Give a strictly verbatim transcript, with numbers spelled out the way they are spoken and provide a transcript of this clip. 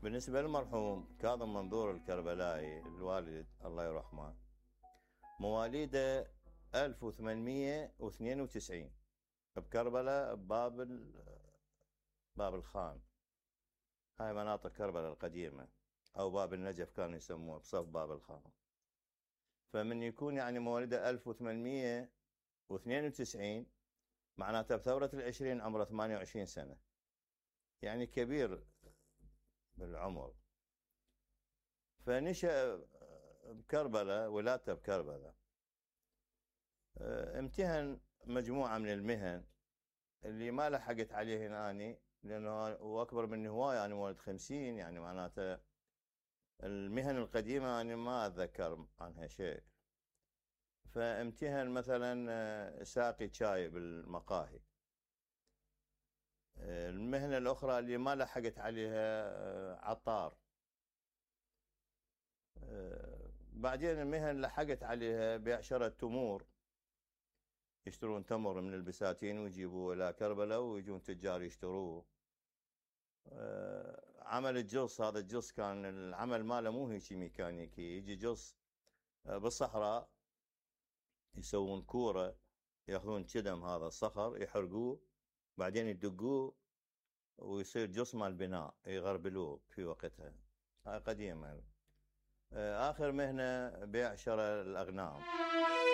بالنسبة للمرحوم كاظم منظور الكربلائي الوالد الله يرحمه، مواليده ألف وثمانمية واثنين وتسعين بكربلاء بباب باب الخان. هاي مناطق كربلاء القديمة، أو باب النجف كانوا يسموه بصف باب الخان. فمن يكون يعني مواليده ألف وثمانمية واثنين وتسعين معناته بثورة العشرين عمره ثمانية وعشرين سنة، يعني كبير بالعمر. فنشأ بكربلاء، ولادته بكربلاء. امتهن مجموعة من المهن اللي ما لحقت عليه اني، لانه هو اكبر مني هواي، انا مواليد خمسين، يعني معناته المهن القديمة انا ما اتذكر عنها شيء. فامتهن مثلا ساقي شاي بالمقاهي. المهنة الاخرى اللي ما لحقت عليها عطار. بعدين المهن لحقت عليها بيع شراء التمور، يشترون تمر من البساتين ويجيبوه الى كربلاء ويجون تجار يشتروه. عمل الجص، هذا الجص كان العمل ماله مو هيك ميكانيكي، يجي جص بالصحراء يسوون كورة، ياخذون كدم هذا الصخر يحرقوه، بعدين يدقوه ويصير جص مال بناء يغربلوه في وقتها. هاي قديمة. آخر مهنة بيع شراء الأغنام.